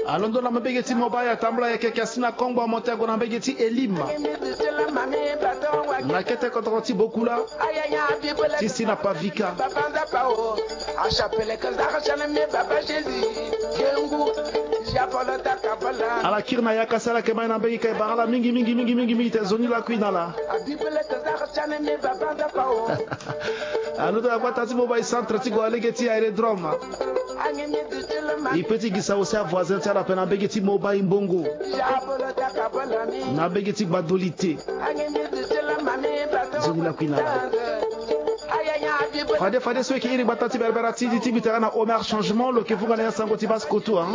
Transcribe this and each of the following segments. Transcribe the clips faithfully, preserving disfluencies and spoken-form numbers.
Alondo na mabege ti Mobile, atambula yeke yeke asi na kongbo, amonte ague na mbege ti Elim, na kete kodoro ti Bokula, ti si na Pavika. Ala kiri na yaka si ala yeke ma ye na mbege ka e bara ala mingi mingi mingi mingi mingi te, nzoni lakui na ala. Alondo na gbata ti Mobile, centre ti gue na lege ti aérodrome. E pe ti gi sango si avoisin ti ala ape na mbege ti Mobile Mbongo, na mbege ti Gbadolite. Nzoni lakui na ala. Fade fade so e yeke iri gbata ti berbera ti, ti mbi tara na Omer Changement, lo yeke vunga na ya sango ti Basse Kottoua.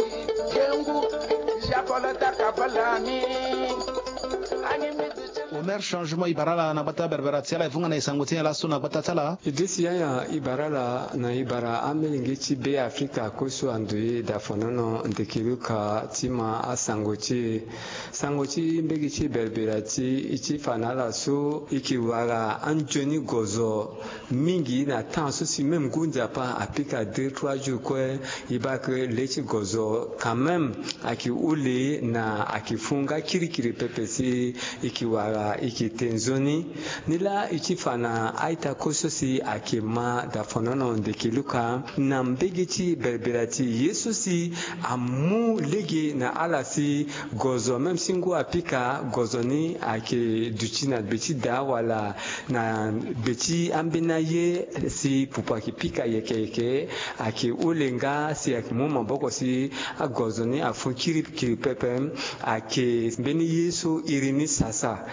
Omer Changement, e bara ala na gbata berbera ti ala, e vunga na e sango ti nyen laso na gbata ti ala? E desi yaya, e bara ala na e bara amolenge ti Be Afrika, koso ando ye dafonono ndeke luka ti ma asango ti e. Sango ti mbege ti berbera ti, e ti fa na ala so e yeke wara anzoni gozo mingi na temps so si même ngu nzapa apika deux trois jours kue, e baa ke le ti gozo quand même ayeke hole na ayeke fo nga kirikiri pepe si e yeke wara e yeke te nzoni. Nilaa e ti fa na a-ita kue so si ayeke ma dafonono ndeke luka na mbege ti berbera ti e, ye so si amu lege na ala si gozo, même si ngu apika, gozo ni ayeke duti na gbe ti da wala na gbe ti ambeni aye si pupu ayeke pika yeke yeke, ayeke hole nga si ayeke mu maboko si agozo ni afo kirikiri pepe. Ayeke mbeni ye so iri ni sasa.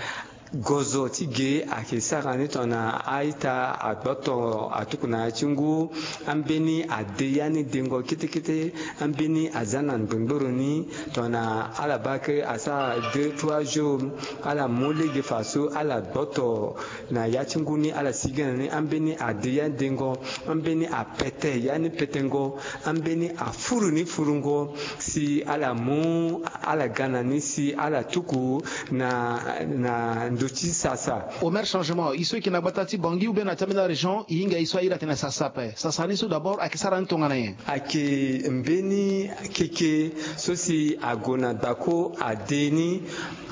Gozo ti ge ayeke sara ni tongana a-ita agboto atuku na ya ti ngu, ambeni ade ya ni dengo kete kete, ambeni aza na ngbongboro ni. Tongana ala baa ke asara deux trois jours, ala mu lege fa so ala gboto na ya ti ngu ni, ala sigi na ni, ambeni ade ya dengo, ambeni apete ya ni petengo, ambeni afuru ni furungo, si ala mu, ala ga na ni si ala tuku na, na ndo ti sasa. Omer Changement, e so e yeke na gbata ti Bangui ou bien na ti ambeni arégion, e hinga e so a iri atene sasa ape. Sasa ni so d'abord ayeke sara ni tongana nyen? Ayeke mbeni keke so si ague na gbako ade ni,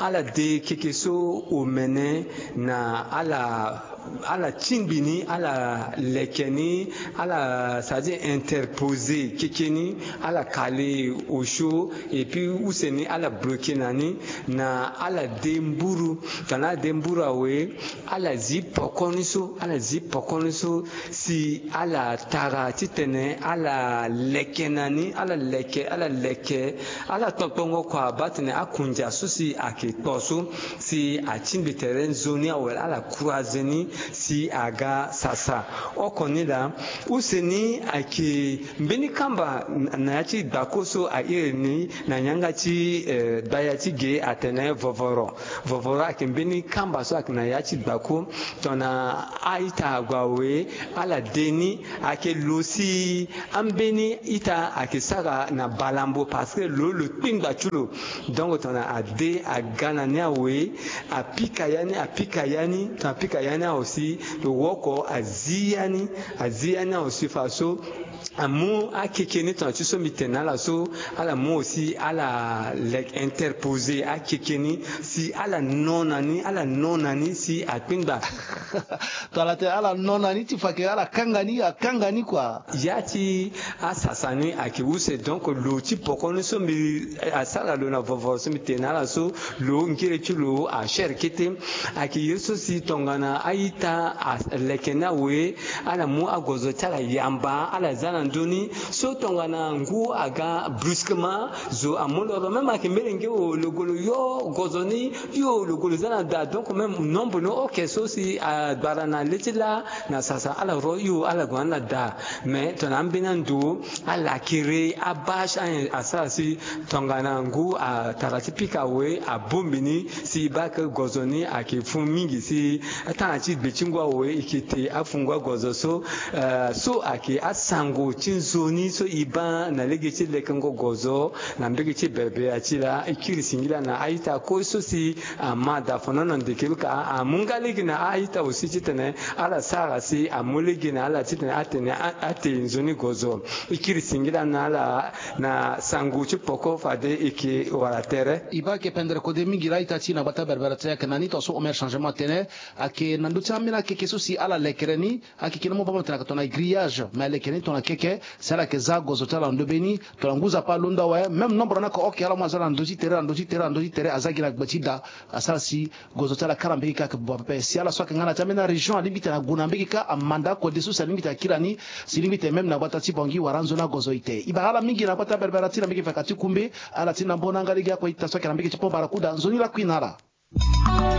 ala de keke so omene na ala, ala tingbi ni, ala leke ni, ala, c'est-à-dire interposer keke ni, ala kale osio, et puis use ni ala bloquer na ni, na ala de mburu. Tongana ala de mburu awe, ala zi poko ni so, ala zi poko ni so, si ala tara titene ala leke na ni, ala leke, ala leke, ala kpokpongo kua baa tene akunja so si ayeke kpo so, si atingbi tere nzoni awe, ala croiser ni si aga sasa. Oko ni laa, use ni ayeke mbeni kamba na, na ya ti gbako so a iri ni na yanga ti, eh, gbaya ti ge atene vovoro. Vovoro ayeke mbeni kamba so ayeke na ya ti gbako. Tongana a-ita ague awe, ala de ni, ayeke lo si ambeni ita ayeke sara na balambo, parce que lo, lo kpingba ti lo. Donc tongana ade aga na ni awe, apika ya ni, apika ya ni, tongana apika ya ni awe si lo woko azi ya ni, azi ya ni awe si fa so amu akeke ni tongana ti so mbi tene na ala so, ala mu aussi ala leke interposer akeke ni si ala no na ni, ala no na ni si akpingba. Tongana tene ala no na ni ti fa ke ala kanga ni, akanga ni kua. Ya ti asasa ni ayeke use, donc lo ti poko ni so mbi, asara lo na vovo so mbi tene na ala so, lo ngere ti lo ashere kete. Ayeke ye so si tongana a-ita aleke ni awe, ala mu agozo ti ala yamba, ala za na ndö ni. So tongana ngu aga brusquement, zo amu loro, même ayeke mbeni lenge o lo gue lo yo gozo ni, yo lo gue lo za na da. Donc même nombre ni oke so si agbara na le ti laa na sasa, ala ro yo, ala gue na da. Mais tongana ambeni ando, ala kiri abâche, a, asara si tongana ngu atara ti pika awe, abongbi ni si e baa ke gozo ni ayeke fû mingi si atanga ti gbe ti ngu awe e yeke te afungo agozo so, eh, so ayeke asango Ti nzoni so e baa na lege ti lekengo gozo na mbege ti berbera ti laa, e kiri singila na a-ita kue so si ama daa fano na ndeke luka amu nga lege na a-ita aussi titene ala sara si amu lege na ala titene atene a- ate nzoni gozo. E kiri singila na ala na sango ti poko fade e ke wara tere. E baa ayeke pendere kode mingi laa a-ita ti e na gbata berbera ti e ayeke na ni tongaso omer changement atene ayeke na ndö ti ambeni akeke so si ala lekere ni. Akeke ni mo baa mo tene ayeke tongana grillage, mais aleke ni tongana keke si ala yeke za gozo ti ala na ndö be ni. Tongana ngu nzapa alondo awe, même nombre ni ayeke oke ala mu aza na ndö ti tere na ndö ti tere na ndö ti tere, aza gi na gbe ti da. Asara si gozo ti ala kara mbege kâ ayeke buba pepe. Si ala so ayeke nga na ya ti ambeni arégion alingbi tene ague na mbege kâ, amanda kode so si alingbi tene akiri na ni. Si lingbi tene même na gbata ti Bangui wala anzoni agozo ite. E baa ala mingi na gbata berbera ti e na mbege vaka ti Koumbe. Ala ti na mbo na yanga lege akue ita so ayeke na mbege ti Pont Barracuda, nzoni lakui na ala.